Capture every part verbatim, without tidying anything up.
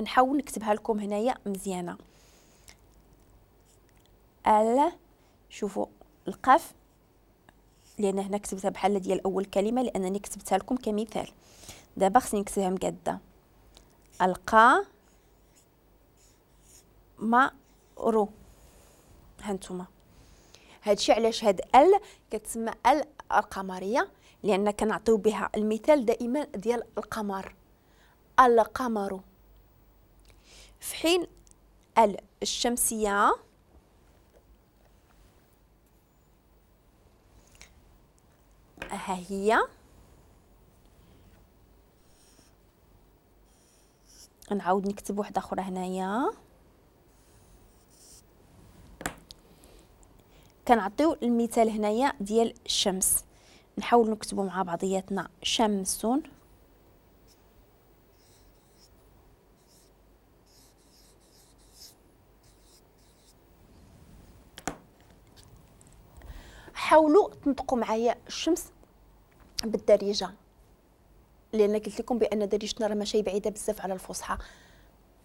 غنحاول نكتبها لكم هنايا مزيانه. ال، شوفوا القاف لان هنا كتبتها بحال ديال اول كلمة لانني كتبتها لكم كمثال. دابا خصني نكتبها مقاده. القا ما رو. هانتوما هادشي علاش هاد ال كتسمى ال القمريه، لان كنعطيو بها المثال دائما ديال القمر، القمر. في حين ال الشمسية ها هي، نعاود نكتب واحدة اخرى هنايا. كنعطيو المثال هنايا ديال الشمس، نحاول نكتبو مع بعضياتنا شمس. حاولوا تنطقوا معايا الشمس بالدارجة، لان قلت لكم بان دارجتنا راه ماشي بعيدة بزاف على الفصحى.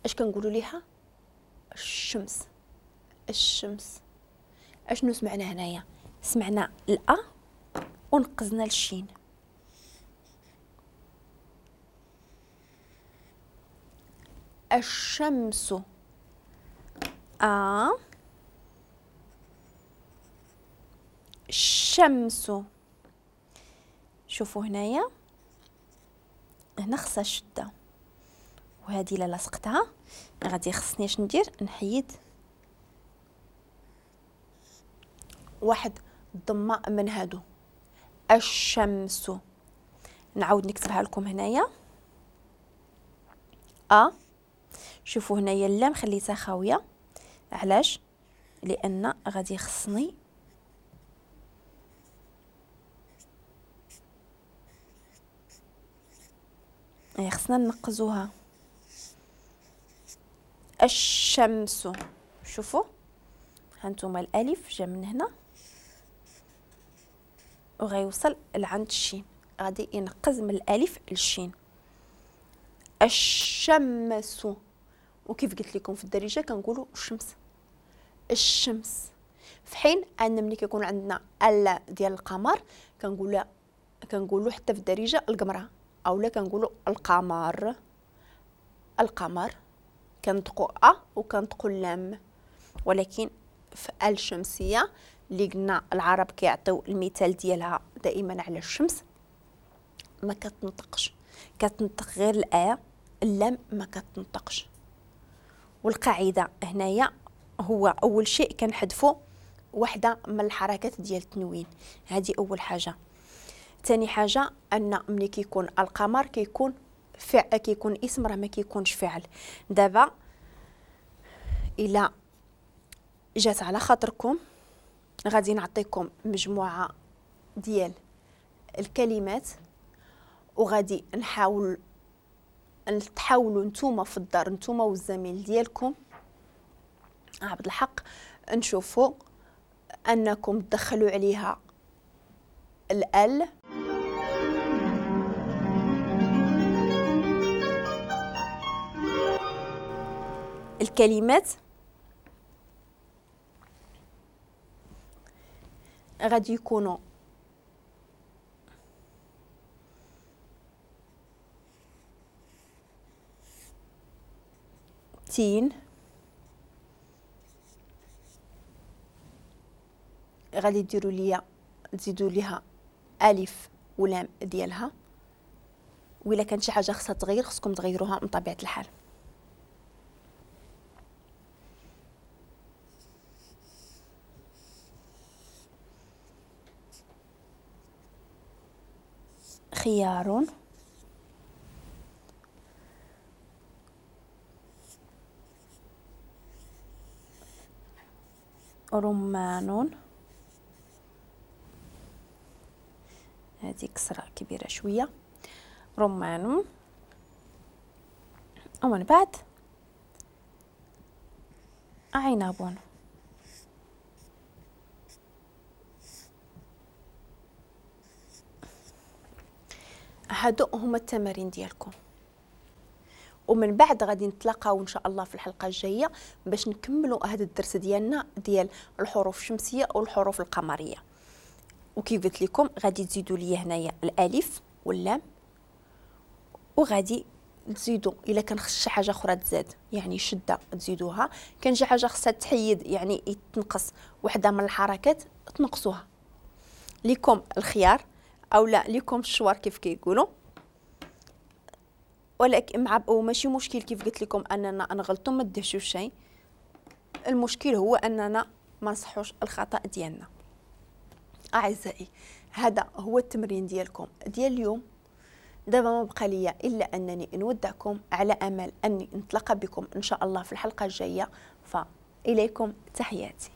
اش كنقولوا ليها؟ الشمس. الشمس. اشنو سمعنا هنايا؟ سمعنا الأ ونقزنا للشين. الشمس. أ الشمس. شوفوا هنايا هنا خصها شده، وهذه لا لصقتها غادي خصني اش ندير؟ نحيد واحد الضمة من هادو. الشمس. نعاود نكتبها لكم هنايا. ا شوفوا هنايا اللام خليتها خاوية، علاش؟ لان غادي خصني خصنا ننقزوها. الشمس. شوفوا هانتوما الالف جا من هنا وغيوصل لعند الشين، غادي ينقز من الالف للشين. الشمس. وكيف قلت لكم في الدارجة كنقولوا الشمس، الشمس. في حين ان ملي كيكون عندنا ال ديال القمر كنقولوا كنقولوا حتى في الدارجة القمره، اولا كنقولوا القمر. القمر كنطقوا ا وكنطقوا اللام. ولكن في الشمسية اللي قلنا العرب كيعطيو المثال ديالها دائما على الشمس ما كتنطقش، كتنطق غير الا، اللام ما كتنطقش. والقاعدة هنايا هو اول شيء كنحذفوا وحده من الحركات ديال التنوين، هذه اول حاجة. ثاني حاجة ان ملي كيكون القمر كيكون فعل، كيكون اسم راه ما كيكونش فعل. دابا الى جات على خاطركم غادي نعطيكم مجموعة ديال الكلمات، وغادي نحاول تحاولوا نتوما في الدار، نتوما والزميل ديالكم عبد الحق، نشوفوا انكم تدخلوا عليها ال الكلمات غادي يكونوا تين، غادي ديروا ليا تزيدوا ليها الف ولام ديالها، وإلا كانت شي حاجة خصها تغير خصكم تغيروها من طبيعة الحال. خيار، رمان، هذه كسرة كبيرة شوية، رمان، ومن بعد عنب. هادو هما التمارين ديالكم. ومن بعد غادي نتلاقاو ان شاء الله في الحلقة الجاية باش نكملوا هذا الدرس ديالنا ديال الحروف الشمسية والحروف القمريه. وكيف قلت لكم غادي تزيدوا لي هنايا الالف واللام، وغادي تزيدوا الا كان خص شي حاجة اخرى تزاد، يعني شده تزيدوها، كان شي حاجة خصها تحيد يعني تنقص وحده من الحركات تنقصوها. لكم الخيار او لا لكم الشوار كيف كيقولوا، ولكن مع وماشي مشكل كيف قلت لكم اننا نغلطوا ما دهشوش شيء، المشكل هو اننا ما نصحوش الخطا ديالنا. اعزائي هذا هو التمرين ديالكم ديال اليوم. دابا ما بقى ليا الا انني نودعكم على امل اني نتلاقى بكم ان شاء الله في الحلقة الجاية، فاليكم تحياتي.